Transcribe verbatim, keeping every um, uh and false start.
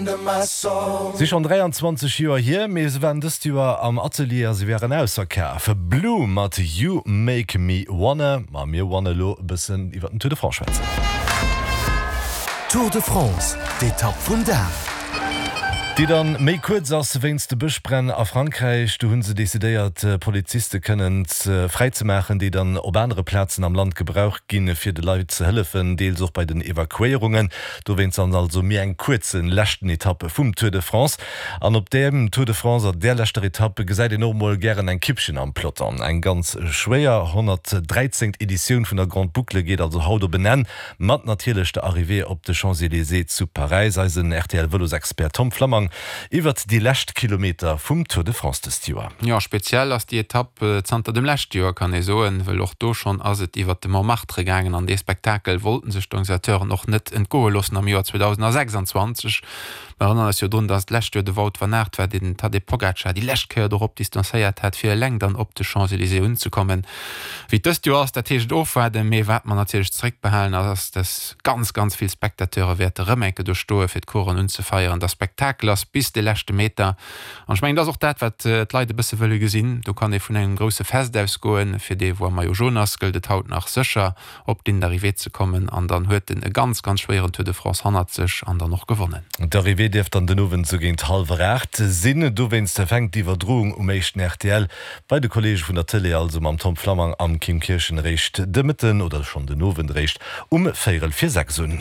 Si schonn dräianzwanzeg Joer hier, mee se waren dëst Joer am Atelier a se waren ausverkaf. Blue mat You Make Me Wanna. Ma mir wanna elo e bëssen iwwer den Tour de France schwätzen. Tour de France, d'Etapp vum Dag. Déi dann méi kuerz ass wéinst de Bëschbränn a Frankräich. Do hunn se decidéiert Poliziste kënnen fräi ze maachen, déi dann op anere Plazen am Land gebraucht ginn, fir de Leit ze hëllefen, deels och bei den Evakuéierungen. Dowéinst dann also méi eng kuerz leschten Etapp vum Tour de France. An op deem Tour de France, an där leschter Etapp, gesäit een och mol gären eng Kippchen am Peloton. Eng ganz schwéier honnertdräizéngt Editioun vun der Grande Boucle geet also haut op en Enn, mat natierlech der Arrivée op de Champs-Élysées zu Paräis. Eisen R T L-Vëlosexpert Tom Flammang iwwert déi lescht Kilometer vum Tour de France dëst Joer. Jo, speziell ass déi Etapp zanter dem leschte Joer, kann ee soen, well och do schonn ass et iwwert de Montmartre gaangen an dee Spektakel wollten sech d'Organisateuren och net entgoe loossen am Joer zweedausendsechsanzwanzeg. Mer erënneren eis jo drun, dass d'lescht Joer de Wout van Aert war, deen den Tadej Pogacar déi lescht Kéier dorop distanzéiert hat, fir eleng dann op de Champs-Élysées unzekommen. Wéi et dëst Joer ass, dat heescht et ofwaarden, mee wat mer natierlech zeréckbehalen ass, dass ganz, ganz vill Spectateure wäerte rëm eng Kéier do stoe fir d'Coursen unzefeieren, dass Spektakel ass bis de leschte Meter. An ech mengen, dat ass och dat, wat d'Leit e bësse wëlle gesinn. Do kann ee vun engem grousse Fest ausgoen. Fir dee wou am Maillot jaune ass, gëllt et haut nach sécher op d'Ligne d'arrivée ze kommen an dann huet en e ganz, ganz schwéieren Tour de France hannert sech an dann och gewonnen. D'Arrivée dierft dann den Owend sou géint hallwer aacht sinn. Dowéinst fänkt d'Iwwerdroung um éischten R T L bei de Kolleege vun der Tëlee, also mam Tom Flammang am Kim Kirchen, eréischt de Mëtten oder schonn den Owend eréischt um véierel vir sechs un.